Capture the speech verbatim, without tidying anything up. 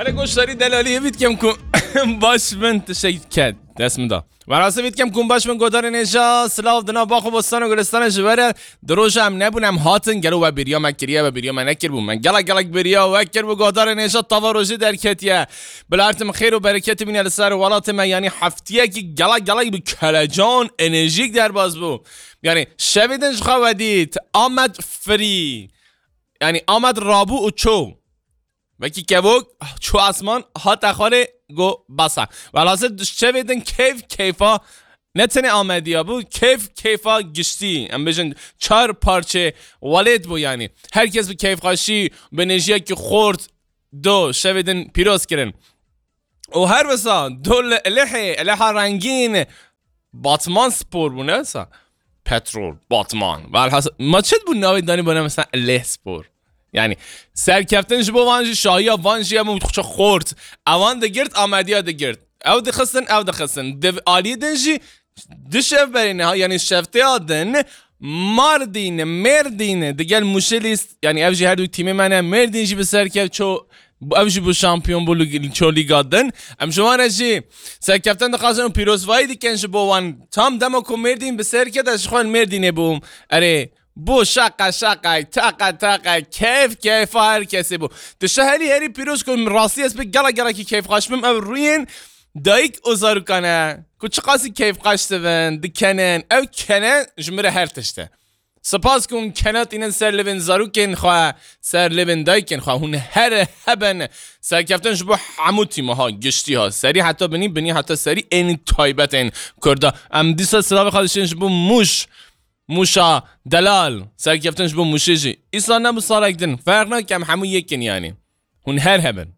Hele goşdarî delalî, hêvî dikim ku baş bin, tiştek ket dest min da. Welhasil hêvî dikim ku baş bin, godarên hêja, silav di nav bax û bostan û gulistana ji we re. Di roja em nebûn, em hatin, gelo we bêriya me kiriye, we bêriya me nekiribû. Me gelek gelek bêriya we kiribû, godarên hêja, tava rojê derketiye. Bila her tim xêr û bereketî bîne li ser welatê me, yanî heftiyekî gelek gelek bi kelecan, enerjîk derbas bû. Yanî şevê din ji xwe we dît, Amed free. Yanî Amed rabû û çû. Wekî kevok çû asman, hate xwarê, got bes e. Welhasil şevê din keyf keyfa ne tenê Amediya bû, keyf keyfa giştî. Em bêjin çar parçê welêt bû yanî. Her kes bi keyfxweşî, bi nêjiyekî xort do şevê din pîroz kirin. Û her wisa do li Ilihê, Iliha rengîn, Batman Spor bû, ne wisa? Petrol, Batman. Welhasil, ma çi bû navê danî bû, ne mesela Ilih Spor? Yani serkeftin ji bo van jî, şahiya van jî, em û xort. Ewan digirt, Amediya digirt. Ew dixistin, ew dixistin. Di aliyê din jî du şev berê niha, yani şeftêya din Mardîn, Mêrdîn digel Mûşê lîst, yani ev jî her du tîmê me ne, Mêrdîn jî bi ser kev ço, ev jî bû şampiyon bû lig-, ço lîga din. Em ji wan re jî serkeftin dixwazin û pîrozvayî dikin ji bo wan. Tam dema ku Mêrdîn bi ser ket, ez ji xwe li Mêrdînê bûm. Erê, bû şaqa şaqa, taqa taqa, keyf keyfa her kesê bû. Tişta herî herî pîroz ku rastî ez pê gelek gelekî keyfxweş bim, ev rûyên dayik û zarokan e, ku çiqasî keyfxweş dibin, dikenin. Ew kene ji min re her tişt e. Spas ku hûn kene tînin ser livên zarokên xwe, ser livên dayikên xwe. Hûn her hebin. Serkeftin ji bo hemû tîma ha, giştî ha, serî heta binî, binî heta serî, ên taybetên Kurda. Em dîsa silavê xwe dişên ji bo Mûş, Mûşa delal. Serkeftin ji bo Mûşê jî. Îsal ne bi salek din. Ferq nake, em hemû yek in yanî. Hûn her hebin.